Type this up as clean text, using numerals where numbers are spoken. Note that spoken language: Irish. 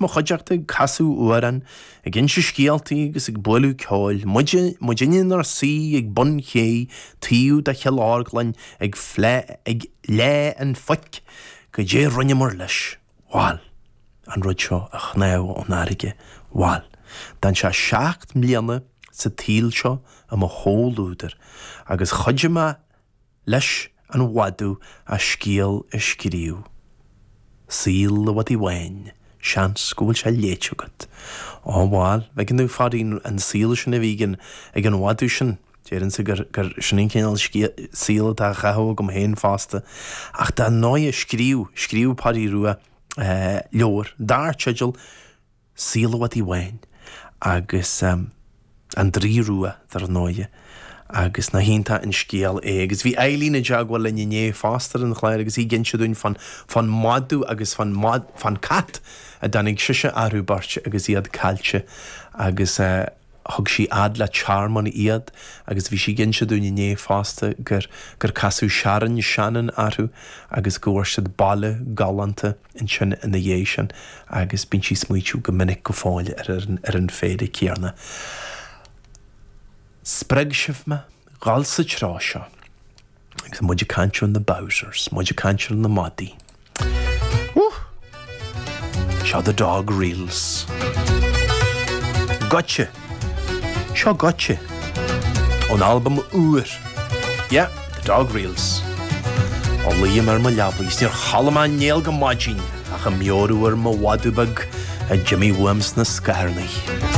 Mo chuideachta ag casadh amhrán, ag inse scéaltaí agus ag bualadh ceoil, muide, muidinne inár suí ag bun ché taobh de Chill Orglan ag ag leá an phoic, goidé rinneamar leis, bhal, an rud seo a shnámh ón fharraige, bhal, d'fhan sé 7 mbliana sa tsaol seo i mo chomhluadar agus chuidigh mé leis an mhadadh a scéal a scríobh. Saol an Mhadaidh Bháin, seans go bhfuil sé léite agat. Ó bhal, bhfeiceann tú, a Pháidín, an saol sin a bhí ag an, ag an mhadadh sin, déarfainnse gur, gur sin an cineál saoil atá á chaitheamh agam féin fosta. Ach dar ndóighe, scríobh, scríobh Páidí Rua leabhar dar teideal Saol an Mhadaidh Bháin agus An Draoi Rua, dar ndóighe, agus nach iontach an scéal é. Agus bhí Eileen i dteagmháil linn inné fosta ar an chlár agus í ag inse dúinn fán, fán mhadadh agus fán, fán cat a dtáinig sise orthu beirt agus iad caillte agus thug sí fhad le tearmann iad agus bhí sí ag inse dúinn inné fosta gur, gur casadh Sharon Shannon orthu agus go bhfuair siad baile galánta ansin ina dhiaidh sin agus bíonn sí ag smaoitiú go minic go fóill ar an, ar an phéire céanna. Spreag sibh mé dhul sa treo seo agus muid ag caint ar na Bowsers, muid ag caint ar na madaí. Woo! Seo The Dog Reels. Goitse! Seo Goitse! Ón albam úr. Yeah, The Dog Reels. Ó luím ar mo leabaidh 's níor chodlaim mé néal go maidin ach ag meabhrú ar mo mhadadh beag a d'imigh uaim sna scatharnaí.